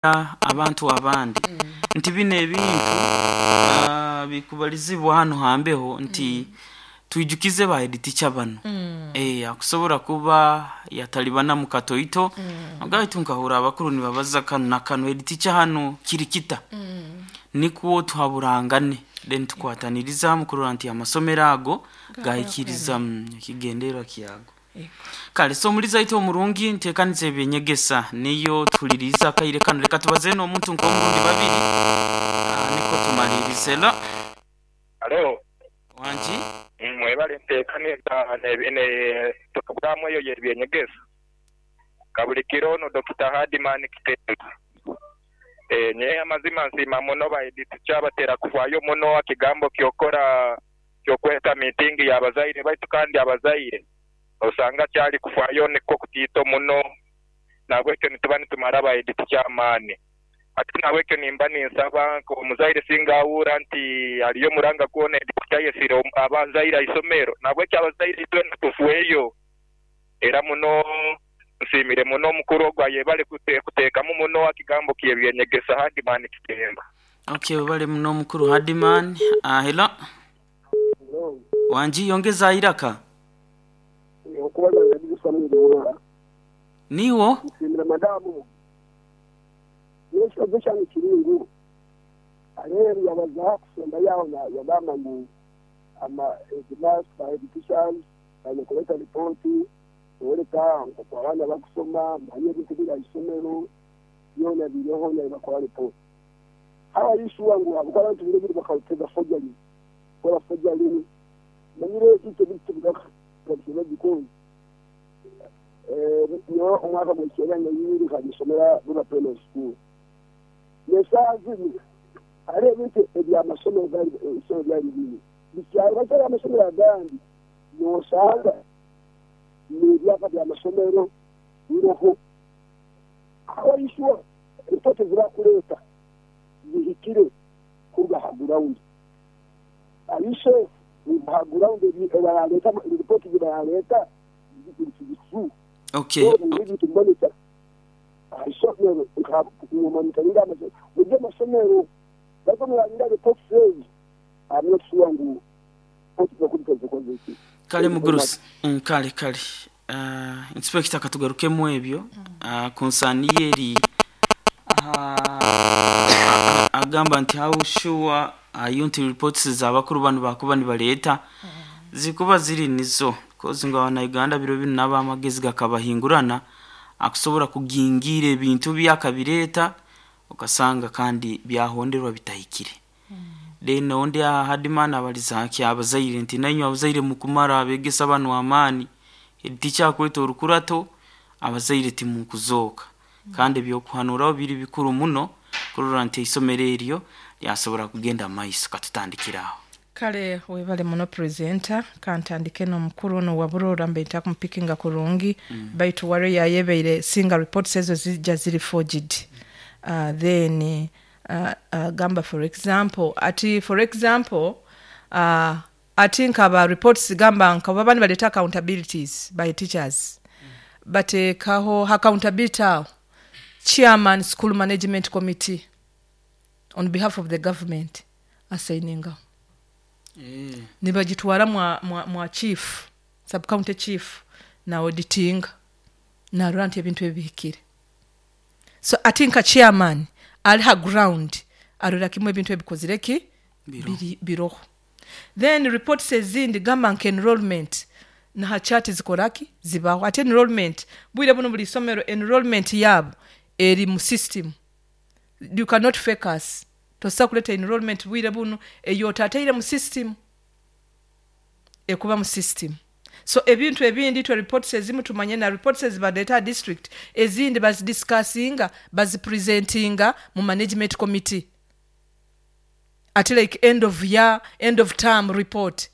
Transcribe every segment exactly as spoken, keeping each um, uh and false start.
Abantu abandi nti bino ebintu ah, bikubalizibwa hanu hambeho nti twijukize ba head teacher bano eh akusobora kuba yatalibana mu katoito agaitu nkahura abakuru nibabaza kanu na kanu, head teacher hanu kiri kita, nikwo tuhaburangane, then tukwataniriza hamu kurora nti amasomero ago gahikiriza mm, ekigendererwa kyago. Kale, so omulizi aitu omurungi, ntekaniza ebyenyegesa niyo tuhuliriza akaire kanu. Leka tubaze n'omuntu nk'omurundi babiri, ah, nikwo tumalirize la. Alo. Wangi. Mwebale ntekaniza ne ne programu eyo yebyenyegesa. Kabulikiro ono Dokita Hardman Kitemba. Eh, nye amazima nsiima muno ba head teacher batera kufaayo muno akigambo kyokora kyokweta meeting yabazaire, baitu kandi abazaire osanga kyali kufaayo nikwo kutiito muno, nahabwekyo nituba nitumara ba head teacher amaani. Ate nahabwekyo nimba ninsaba nka omuzaire singa awuura nti aliyo omuranga gwona head teacher ayesire abazaire aisomero, nahabwekyo abazaire itwena tufweyo. Era muno nsiimire muno omukuru ogu ayebale kute kutekamu muno akigambo kyebyenyegesa. Hardman Kitemba. Okay, webale muno omukuru Hardman. uh, hello. Hello. Wangi, yongeza iraka. Okubaza Samuel Burora. Niwo. Nsiimire madamu. Ekibazo kyange kiri ngu areeru yabaza kusemba yaho yagamba ngu ama headmaster, head teachers baine kuleta ripoti oreka nkoku abaana bakusoma, manye ebintu biri ahisomero byona biriho nibakora ripoti. How are you sure ngu habwokuba abantu biro biri bakatega forgery, kora forgery, manyire itwe bintu tubigaka because eh nyowe omwaka gw'ekyenda n'ibiri nkabisomera Burora Primary School. N'eshaaha zinu hariho ebintu ebyamasomero gali ebisomero byali biri bikyali bakyali amasomero agandi nosanga n'ebyapa by'amasomero biroho. How are you sure ripoti ezibakuleeta zihikire kuruga ha ground? Are you sure ngu ha ground ebaraleeta ripoti zibaraleeta ziri true? Okay. Ebintu biboneka ahisomero nka monitoringa amasomero buri amasomero bakomurabira ripoti ezo, I'm not sure ngu ripoti zokubika zikoze ki. Kale mugurusi. mm, kale kale uh, inspector, katugarukemu ebyo uh, concern yeri uh, agamba nti how sure are you nti reports z'abakuru bano bakuba nibaleeta zikuba ziri nizo, kozi ngu abanauganda biro binu nabo amagezi gakabahingurana, akusobora kugingira ebintu byakabireeta okasanga kandi byahonderwa bitahikire. Then ondi Hardman abaliza nki abazaire nti nainywe abazaire mukumara abegesa banu amaani, tikyakweta orukurato, abazaire timukuzooka, kandi ebyokuhanuraho biri bikuru muno kurora nti eisomero eryo lyasobora kugenda mumaiso. Katutandikire aho. Kale, webale muno presenter. Kantandike n'omukuru ono wa Burora, mbe ntakumupikinga kurungi mm. Baitu ware yayebeire singa reports ezo zijja ziri forged. uh, then uh, uh, gamba for example ati for example uh, ati nkaba reports gamba nkaba bani baleta accountabilities by teachers mm. Bateekaho accountability awo chairman school management committee on behalf of the government assigningaho eh. Nibagitwara mwa, mwa, mwa chief, subcounty chief, na auditinga narora nti ebintu ebi bihikire. So ati nka chairman ali ha ground arora kimwe ebintu ebikozire ki. Biroho. Biri- biroho. Then reports ezindi gamba nka enrollment naha chart zikoraki zibaho. Ate enrollment bwire buno buli isomero enrollment yabo eri mu system. You cannot fake us. Tosobola kuleta enrollment bwire buno eyo otateire mu system, ekuba mu system. So ebintu ebindi twe reports ezimu tumanye na reports ezibaleeta district, ezindi bazidiscussinga, bazipresentinga mu management committee. Ate like end of year, end of term report,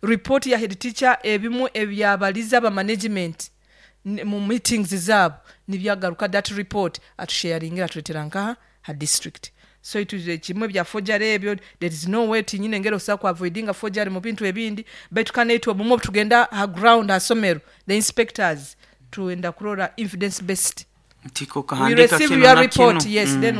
report ya head teacher, ebimu ebyabaliza aba management n- mu meetings zaabo nibyagaruka, that report atusharingira, atuletera nkaha ha district. So itu kimwe bya forgery ebyo, there is no way tinyine ngero osobola ku avoidinga forgery mu bintu ebindi, baitu kandi itwe obumwe tugenda ha ground ha somero, the inspectors, tuenda kurora evidence based. Nti We kokahandika receive kino your na report, kino. yes. Mm. Then